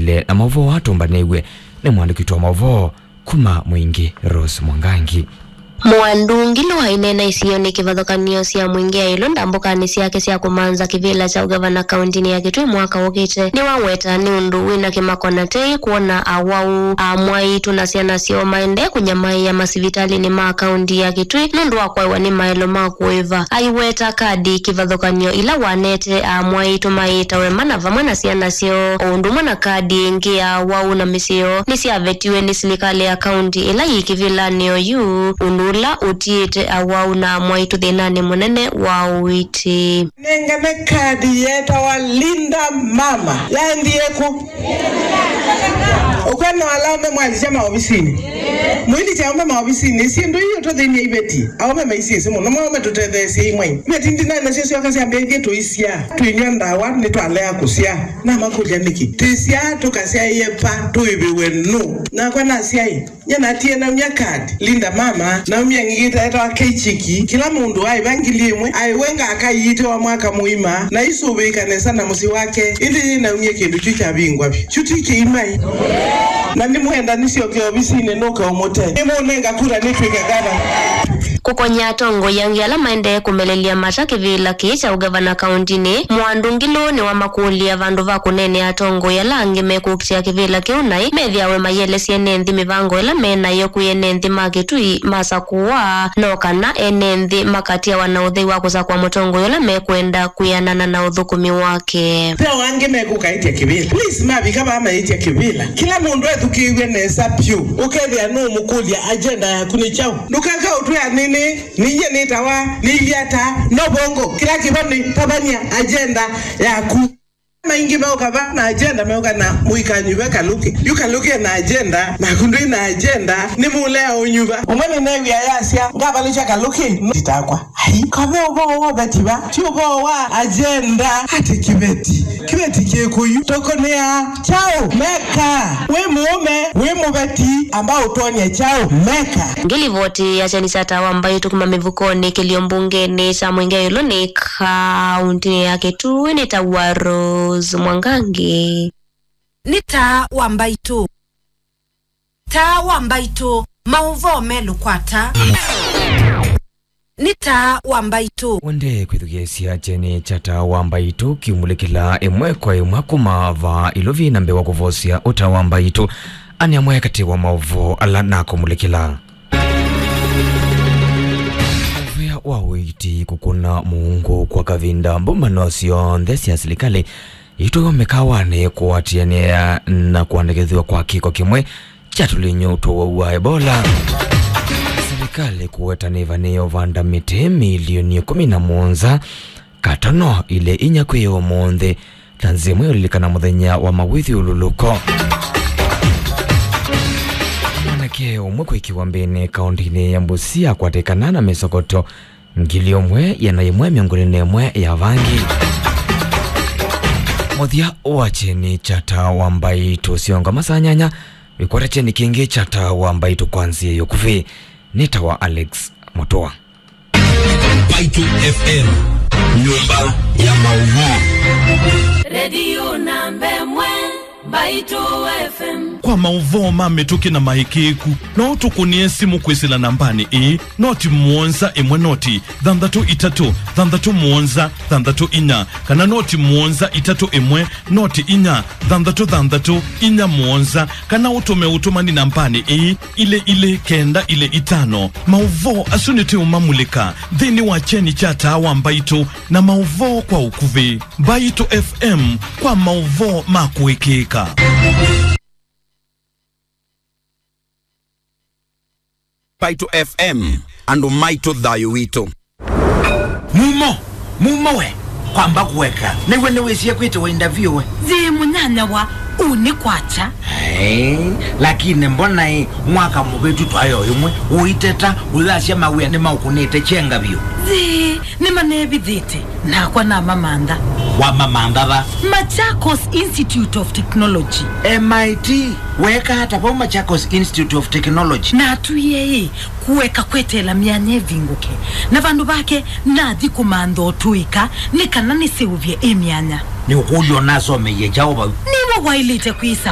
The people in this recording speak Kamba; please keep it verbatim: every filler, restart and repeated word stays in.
Na maũvoo atũmbanĩw'e nĩ mũandĩki witũ wa maũvoo kuma Mwingi, Rose Mwangangi. Mwandu Ngilu aineena isionĩ kĩvathũkanio sya Mwingi ya ĩlũ ndambũkanĩ syake sya kũmantha kĩvĩla kya ũgavana kaũntĩnĩ ya Kitui mwaka ũkĩte. Nĩwaweta nĩ ũndũ wĩna kĩmako na tei kwona awau, amwaitũ na syana syoo maendee kũnyamaĩa masivitalĩnĩ ma kaũntĩ ya Kitui nũndũ wa kwaĩwa nĩ maelo ma kũĩva. Aiweta kadi kĩvathũkanio ila wanete amwaitũ maĩtawe mana vamwe na syana syoo, o ũndũ ũmwe na kadi ĩngĩ ya awau na mĩsyĩ yoo nĩsyavetiwe nĩ silikalĩ ya kaũntĩ ĩla yĩ kĩvĩlanĩ oyu, ũndũ ũla ũtiĩte awau na amwaitũ thĩnanĩ mũnene wa ũiiti. Nengane kadi yetawa Linda Mama. Yaendie kũ? Ũkwona ala aume mwalikya maovisinĩ. Mwilikya aume maovisinĩ, syĩndũ ii ũtũthĩny'a iveti. Aume maisiĩsĩ mũno, maume tũtetheesye imwe. Iveti ndinai nasyo syoka syambĩĩthye tũisyaa. Tũinywa ndawa, nĩtwalea kũsyaa. Namakũlya nĩkĩ? Twĩsyaa tũkasyaĩe va, tũĩvĩwe nũ? Nakwa nasyaĩ. Nye natie naumya kadi, Linda Mama, naumya ngigita etawa Keichiki, kĩla mũndũ aĩva ngili ĩmwe, aĩwe ngaka iite wa mwaka mũima, na isũvĩĩka nesa na mũsyĩ wake, ĩndĩ yĩ naumya kĩndũ kyu kyavingwa vyũ. Kyu ti kĩimai. Na nĩmwenda nĩsyoke ovisinĩ nũke ũmũte. Nĩmũnenga kura nĩtw'ĩke gavana. Kũkony'a atongoi angĩ ala maendee kũmelelya mata kĩvĩla kĩĩ kya ũgavana kaũntĩnĩ, Mwandu Ngilu nĩwamakũlya vandũ va kũneenea atongoi ala angĩ mekũkitĩa kĩvĩla kĩu naĩ methĩawe mayĩelesya ene nthĩ mĩvango ĩla me nayo kwĩ ene nthĩ ma Kitui masakũwa, no kana ene nthĩ makatiawa na ũthei wa kũsakũa mũtongoi ũla mekwenda kwĩanana na ũthũkũmi wake. Ve o angĩ mekũkaĩtya kĩvĩla. Please, mavika vaa maĩtya kĩvĩla. Kĩla mũndũ ethukĩĩw'e nesa vyũ, ũkethĩa nũũmũkũlya agenda yaku nĩ kyaũ. Ndũkaka ũtwĩa nĩnĩ. Ninyie nĩtawa, nĩilyata, no vongo, kĩla kĩvo nĩ tavany'a agenda yaku. Maingĩ meũka va na agenda, meũka na mũikanyuve Kalũkĩ. Yu Kalũkĩ ena agenda, naku ndwĩ na agenda, nĩ mũlea ũnyuva. Ũmwe nĩneew'ĩa yasya, ngavalũkya Kalũkĩ, no titakwa. Ai, kave ũvoo wa ũveti va, ti ũvoo wa agenda. Ati kĩveti, kĩveti kĩkũyu, tũkũnĩa kyaũ? Meka, wĩ mũũme, wĩ mũveti, amba ũtwony'e kyaũ? Meka. Ngilivoti ya kyeni kya Taa wa Mbaitũ kuma mĩvukonĩ kĩlio mbungenĩ kya Mwingi Ĩũlũ nĩ kaũntĩnĩ ya Kitui nĩ ta wa Rose Mwangangi. Nĩ Taa wa Mbaitũ. Taa wa Mbaitũ, maũvoo melũ kwa taa. Nĩ Taa wa Mbaitũ. Wende kwĩthukĩĩsya kyeni kya Taa wa Mbaitũ kiumũlĩkĩla ĩmwe kwa ĩmwe kuma vaa ilovi na mbee wa kũvosya ũtaa wa Mbaitũ. Ani amwe katĩ wa maũvoo ala nakũmũlĩkĩla. Mũvea wa ũiiti kũkũna mũungu kwa kavinda, mbũmbano syonthe sya silikalĩ itũiwa mĩkawanĩ kũatĩanĩa na kũandĩkĩthw'a kwa kĩko kĩmwe kya tũlinyũ twa ũwau wa Ebola. Silikalĩ kũweta nĩvanĩĩe ũvanda mĩtĩ milioni ĩkũmi na mũonza katono ilĩ inya kwĩ ũmũnthĩ. Tanzania ĩmwe ũlilikana mũthenya wa mawĩthyũlũlũko. Mwanake ũmwe kwĩkĩwa mbĩnĩ kaũntĩnĩ ya Busia akwatĩkana na mĩsokoto ngili ũmwe ĩana yĩmwe mĩongo ĩlĩ na ĩmwe ya vangi. Mũthya wa kyeni kya Taa wa Mbaitũ ũsyonga masaa nyanya, wĩkwata kyeni kĩngĩ kya Taa wa Mbaitũ kwa nzĩa ya ũkuvĩ. Nĩ Taa wa Alex Mũtũa. Mbaitũ F M, nyũmba ya maũvoo. Redio namba ĩmwe, Mbaitũ F M. Kwa maũvoo ma mĩtũkĩ na maĩkĩĩku, no ũtũkũnĩe simũ kwĩsĩla nambanĩ ĩĩ, noti mũonza ĩmwe noti thanthatũ itatũ thanthatũ mũonza thanthatũ inya, kana noti mũonza itatũ ĩmwe noti inya thanthatũ thanthatũ inya mũonza, kana ũtũme ũtũmani nambanĩ ĩĩ, ilĩ ilĩ kenda ilĩ itano. Maũvoo asu nĩtũũmamulĩka nthĩnĩ wa kyeni kya Taa wa Mbaitũ na maũvoo kwa ũkuvĩ. Mbaitũ F M kwa maũvoo ma kũĩkĩĩka. Mbaitũ F M, andũ maitũ, thayũ witũ. Mumo, mumo we, kwamba kũeka. Nĩw'o nĩwĩsie kwĩtĩwa interview we. Yĩ mũnyanyawa, ũ nĩ kwakya. Hey, lakini mbona ĩ, mwaka mũvĩtu twaĩ o ĩmwe, ũiteta, ũyasya mawĩa nĩmaũkũnĩte kyenga vyũ. Yĩ, nĩmanevithĩte, nakwa namamantha. Wamamantha va? Machakos Institute of Technology. M I T, weka ata vau Machakos Institute of Technology? Natwie ĩ, kũeka kweteela myanya ĩvingũke. Na vandũ vake, nathi kũmantha ũtũĩka nĩ kana nĩseũvye ĩ myanya. Nĩũkũlya ũnasomeie kyaũ vau? Nĩwe waĩlĩte kwĩsa